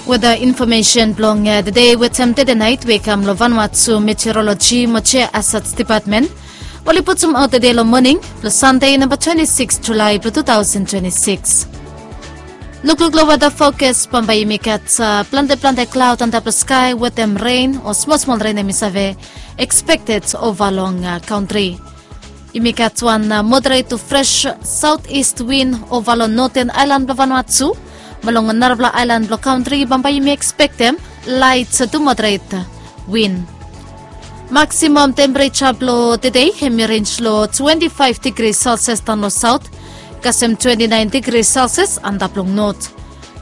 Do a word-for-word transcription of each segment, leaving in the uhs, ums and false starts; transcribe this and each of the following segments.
Weda infomesen blong tede wetem tede nait we i kam long Vanuatu Meteorologi mo Jiahazad Depatmen, oli putumaot tede long moning blong Sande namba twenti sikis Julae blong tu taosen twenti sikis. Lukluk long weda fokas, bambae yumi gat plante plante klaod antap long skae wetem ren o smol smol ren hem i save ekspekted ova long kantri. Yumi gat wan moderet tu fres saot ist win ova long noten aelan blong Vanuatu, mo long narafala aelan blong kantri bambae yumi ekspektem laet tu moderet win. Maksimam tempereja blong tede hem i renj long twenti faef digri selsias daon long saot, kasem twenti naen digri selsias antap long not.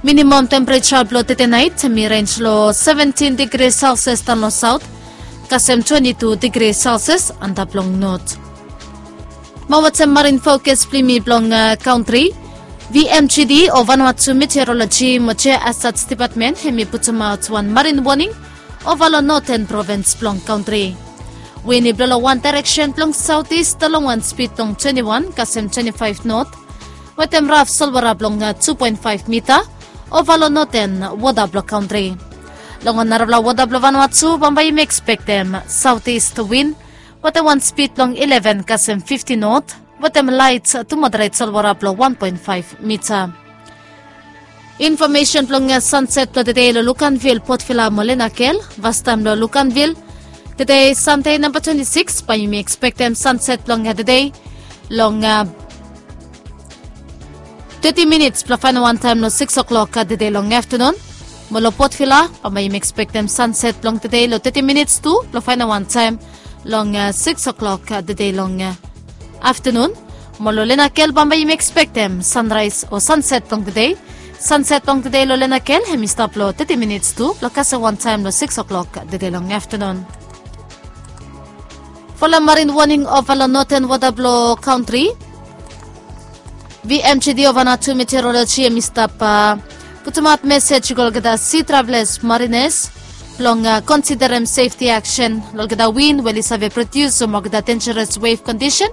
Minimam tempereja blong tede nait hem i renj long seventin digri selsias daon long saot, kasem twenti tu digri selsias antap long not. Mo wetem marin fokas blong yumi blong kantri, V M G D o Vanuatu Meteorologi mo Jiahazad Depatmen hem i putumaot wan marin woning ova long noten provins blong kantri. Win i blo long wan daereksen blong saot ist long wan spid blong twenti wan kasem twenti faef not, wetem raf solwara blong tu poen faef mita ova long noten wota blong kantri. Long narafala wota blong Vanuatu bambae yumi ekspektem saot ist win wetem wan spid blong ileven kasem fifti not, wetem laet tu moderet solwara blong wan poen faef mita. Infomesen blong sanset blong tede long Luganville, Port Vila mo Linakel. Vastaem long Luganville, tede Sande namba twenti sikis, bae yumi ekspektem sanset blong tede long teti minits blo faenem wantaem long sikis oklok tede long aftanun. Mo long Port Vila bambae yumi ekspektem sanset blong tede long teti minits tu blo faenem wantaem long sikis oklok tede long aftanun. Mo long Linakel bambae yumi ekspektem sanraes o sanset blong tede. Sanset blong tede long Linakel hem i stap long teti minits tu blo kasem wantaem long sikis oklok tede long aftanun. Folem marin woning ova long noten wota blong kantri, V M G D o Vanuatu Meteorologi hem i stap putumaot mesej i go long olgeta si travelas, marines, blong konsiderem sefti aksen long olgeta win we oli save prodius mo olgeta denjeres wef kondisen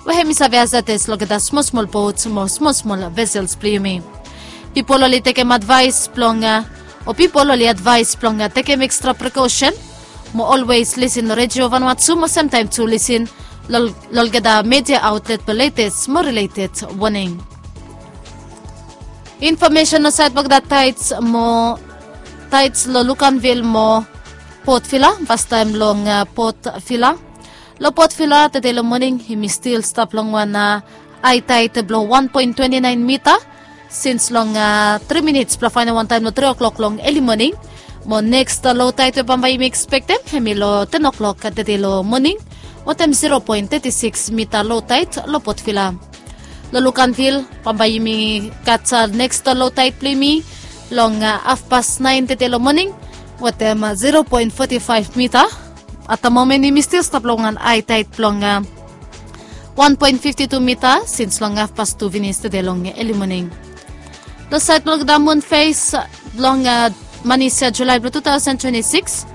we hem i save hazades long olgeta smol smol bot mo smol smol vesels blong yumi. Pipol oli tekem advaes blong o pipol oli advaes blong tekem ekstra prekosen mo olwes lisin redio Vanuatu mo semtaem tu lisin long olgeta media aotlet blong letes mo rileted woning. Infomesen long saed blong olgeta taets mo taets long Luganville mo Port Vila. Vastaem long Port Vila, long Port Vila tede long moning hem i stil stap long wan ae taet blong wan poen twenti naen mita sins long tri minits blo faenem wantaem long tri oklok long eli moning. Mo neks lo taet we bambae yumi ekspektem hem i long ten oklok tede long moning, wetem zero poen teti sikis mita lo taet long Port Vila. Long Luganville bambae yumi gat neks lo taet blong yumi long hafpas naen tede long moning, wetem zero poen foti faef mita. At the moment yumi stil stap long wan ae taet blong wan poen fifti tu mita sins long hafpas tu finis tede long eli moning. Long saed blong olgeta mun fes blong manis Julae blong tu taosen twenti sikis,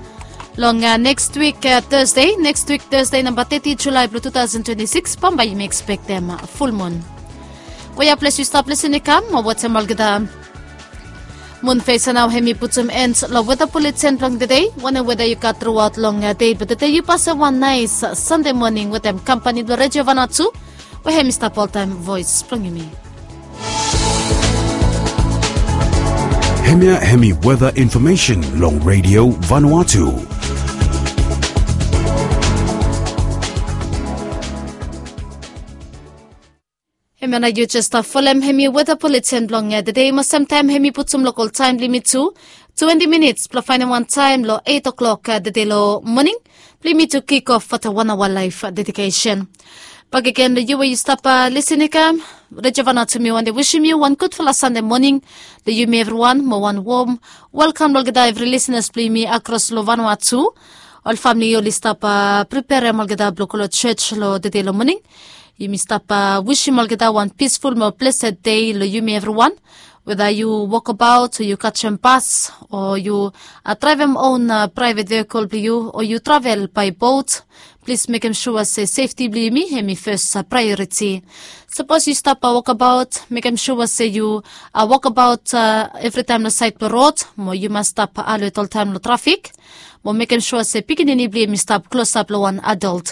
long neks wik Tasde, neks wik Tasde namba teti Julae blong tu taosen twenti sikis bambae yumi ekspektem fulmun. Wea ples yu stap lisin i kam mo wetem olgeta mun fes ya nao hem i putum en long weta buleten blong tede. Wanem weta yu gat truaot long dei blong tede, yu pasem wan naes Sande moning wetem kampani blong redio Vanuatu we hem i stap oltaem voes blong yumi. Hemia hem i weta infomesen long redio Vanuatu. Hemia nao yu jes stap folem hem i weta buleten blong tede mo semtaem hem i putum lokol taem blong yumi tu twenti minits blo faenem wantaem long eit oklok tede long moning blong yumi tu kik of wetem wan aoa laef dedikesen. Bakegen long yu we yu stap lisin i kam, redio Vanuatu mi wantem wisim yu wan gudfala Sande moning long yumi evriwan mo wan wom welkam long olgeta evri lisinas blong yumi akros long Vanuatu. Ol famle oli stap priperem olgeta blong go long jos long tede long moning. Yumi stap wisim olgeta wan pisful mo blesed dei long yumi evriwan. Weda yu wokabaot o yu kajem bas o yu draevem on praevet vehikel blong yu o yu travel bae bot, plis mekem sua se sefti blong yumi hem i fes praeoriti. Sapos yu stap wokabaot, mekem sua se yu wokabaot evritaem long saed blong rod, mo yu mas stap alet oltaem long trafik, mo mekem sua se pikinini blong yumi stap klosap long wan adol.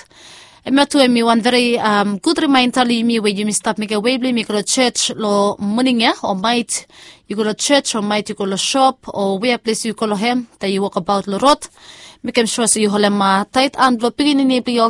Hemia tu hem i wan veri gud rimaenda long yumi we yumi stap mekem wei blong yumi go long jos long moning ya o maet yu go long jos o maet yu go long sop o wea ples yu go long hem taem yu wokabaot long rod, mekem sua se yu holem taet han blong pikinini blong yu